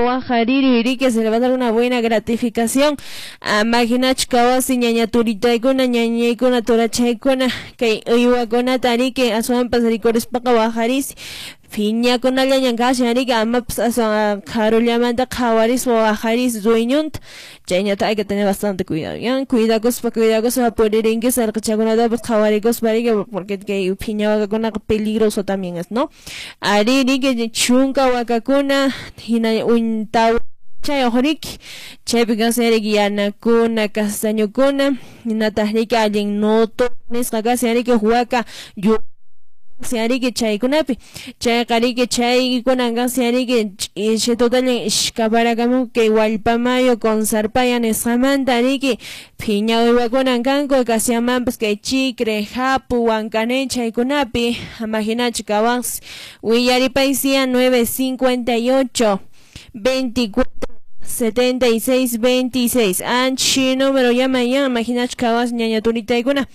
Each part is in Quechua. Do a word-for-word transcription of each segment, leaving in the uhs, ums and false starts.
wajariri riki, se le va a dar una buena gratificación. Amaginach kawasi ñaña turitaykuna ñañaykuna turachaykuna kay uywakunata riki aswanpas rikurispaqa wajarisi phiñakunallañan kashan riki, amapas aswan qharullamanta qhawarispa wajaris dueñonta. Chayñata hay que tener bastante cuidado, ¿ya? Cuidakuspa cuidakuspa puririnki sarqachakunatapas qhawarikuspa riki, porque kay phiña wakakunaqa peligroso también es, ¿no? Ari riki chunka wakakuna hina untaw chayuq riki, chaypi kashan riki yanakuna castañukuna hinataq riki allin noto nisqa kashan riki waka yu riki chaykunapi chayqa riki chaykunan kashan riki ch'isitutallan ishkaparakamun kay Wallpamayo Consarpaya nisqamanta riki phiña uywakunan kanku kashamanpas kay Chicre, Japu, Huancané chaykunapi. Imaginachu kawansi willaripaysiya nueve cincuenta y ocho veinticuatro setenta y seis veintiséis. Anchi número llama ya, imaginachu kawas ñaña turitaykuna.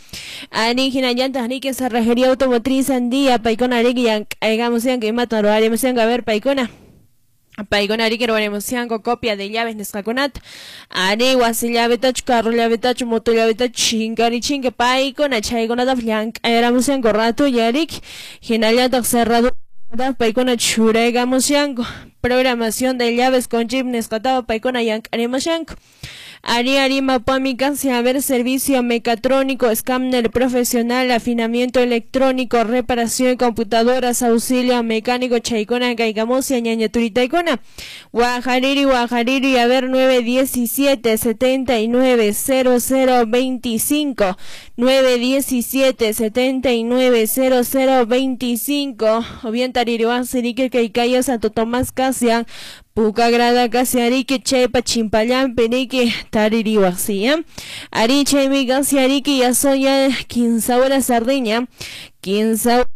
Ani hinallantaq riki cerrajería automotriz Andía, paykuna riki llank'aykamusianku imatan ruwarimusianku, a ver paykuna. Paykuna riki ruwarimusianku copia de llaves nisqakunata. Ari wasi llavetachu, carro llavetachu, moto llavetachu, chinkarichinka paykuna chaykunatapas llank'ayramusianku ratulla riki. Hinallataq cerradura paykuna churaykamusianku. Programación de llaves con chip nisqatapas paykuna llank'arimushanku. Ari Arima Pami casi a ver servicio mecatrónico, escáner profesional, afinamiento electrónico, reparación de computadoras, auxilio mecánico, chaykuna, kaykamusia, ñaña turitaykuna. Guajariri, Guajariri, a ver nueve diecisiete setenta y nueve cero cero veinticinco, nueve diecisiete setenta y nueve cero cero veinticinco, o bien Taririwan Sirique Kaikaya Santo Tomás Casian, Puka grada casi ariki chaypa chimpallampi riki taririwaqsi, ¿ya? Ari chaymi casi ariki ya son ya quince horas sardiña, quince horas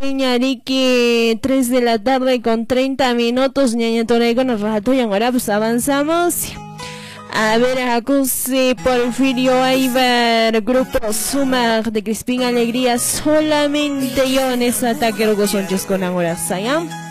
ariki, tres de la tarde con treinta minutos, ñaña toraykuna rato y ahora pues avanzamos. A ver, Acuse Porfirio Aybar, Grupo Sumar de Crispín Alegría, solamente yo en ese ataque luego son con ahora, ¿ya?